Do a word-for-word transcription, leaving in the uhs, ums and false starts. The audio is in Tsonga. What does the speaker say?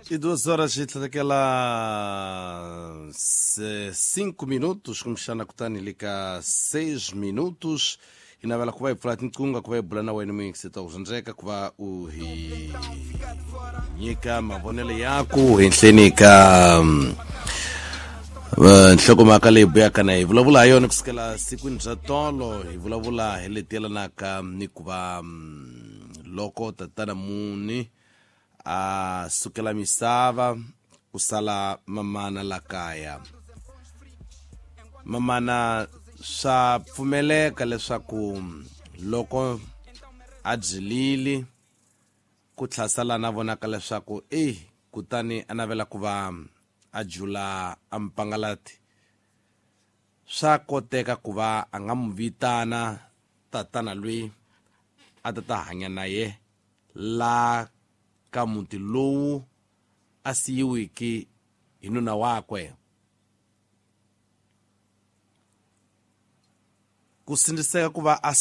E duas horas e tlhekela cinco minutos kumbexana kutani le ka seis minutos hi navela ku va hi pfula tinqingho ku va hi bula na wena muyingiseta ku swi ku va u hi nyika mavonelo yaku henhleni ka nhlokomhaka leyi buyaka na hi vulavula ha yona kusukela sikwini bya tolo hi vulavula hi leti yelanaka ni ku va loko tatana muni a sukela misava ku sala mamana la kaya mamana swa pfumeleka leswaku loko a byilile ku tlhasala na vonaka leswaku e kutani a navela ku va a jula a mpangalati swa koteka ku va a nga mu vitana tatana loyi a ta ta hanya na ye la ka muti lowu a siyiwiki hi nuna wakwe ku sindziseka ku va a